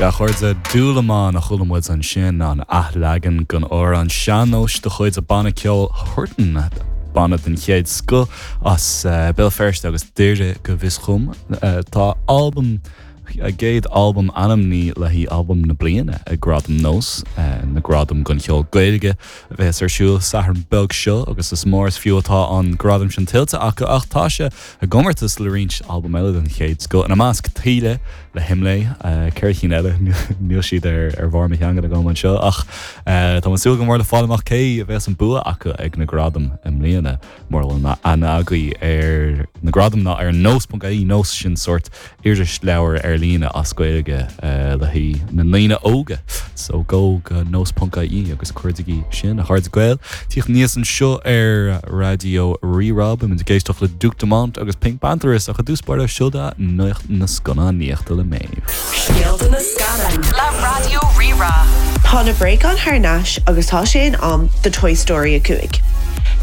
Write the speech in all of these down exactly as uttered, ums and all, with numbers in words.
A chairde Dúlamán a chuala muid ansin an athleagan den amhrán sean-nóis de chuid an bhanna ceoil Huartan banna den chéad scoth as uh, Béal Feirste agus Doire go bhfios dom uh, tá album a gcéad albam ainmnithe le haghaidh albam na bliana ag Gradaim NÓS uh, na Gradaim don cheol Gaeilge a bheas ar siúl Satharn beag seo agus is mór is fiú atá an gradam sin tuillte acu ach tá sé i gcomórtas le roinnt albam eile den chéad scoth ina measc Taoille le Himlé ceithre cinn eile níl siad ar ar bharr mo theanga agam anseo ach tá súil go mór le fáil amach cé a bheas an bua acu ag na gradaim i mbliana mar bhfuil aithne agaibh ar na gradaim ná ar nós.ie nós sin sórt irisleabhar ar líne as Gaeilge uh, le haghaidh na ndaoine óga so go go nós.ie agus cuardaigí sin a chairde Gael Tíocht níos anseo ar Raidió Rí-Rá muid ag éisteacht le Duke Dumont agus PinkPantheress ach i dtús báire seo nuacht na scannánaíochta le Méabh. Scéalta na scannán Le Raidió Rí-Rá. Tá na bréagáin thar n-ais agus tá sé in am do Toy Story a cúig.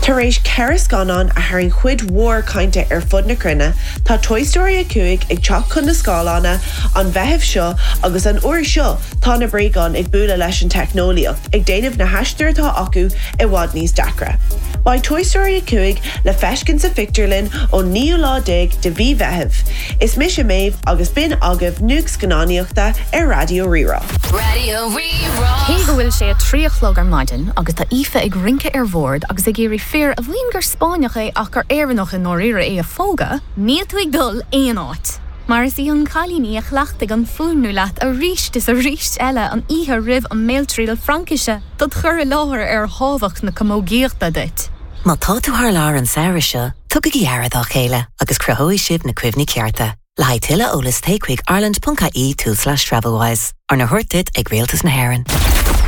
Tar éis ceithre scannán a tharraing cuid mhór cainte ar fud na cruinne, tá Toy Story a cúig ag teacht chun na scáileáin an Mheitheamh seo agus an uair seo tá na bréagáin ag bualadh leis an teicneolaíocht ag déanamh na haistir atá acu i bhfad níos deacra. Beidh Toy Story a cúig le feiscint sa phictiúrlann ón naoú lá déag de mhí Mheithimh. Is mise Méabh agus b'in agaibh nuacht scannánaíochta ar Raidió Rí-Rá. Raidió Rí-Rá. Cé go bhfuil sé a trí a chlog ar maidin agus tá Aoife ag rince ar bhord agus ag iarraidh fear a mhaíonn gur Spáinneach é ach gur Éireannach i ndáiríre é a phógadh, níl tú ag dul aon áit. Mar is í an cailín í a chleachtaigh an fuaimniú leat arís is arís eile an oíche roimh an mbéaltriail Fraincise dod chur i láthair ar thábhacht na camógaíochta duit. Má tá tú thar lear an samhradh seo, tugaigí aire dá chéile agus cruthóidh sibh na cuimhní cearta. Le haghaidh tuilleadh eolais téigh chuig ireland.ie tulslais Travelwise, arna thabhairt duit ag Rialtas na hÉireann.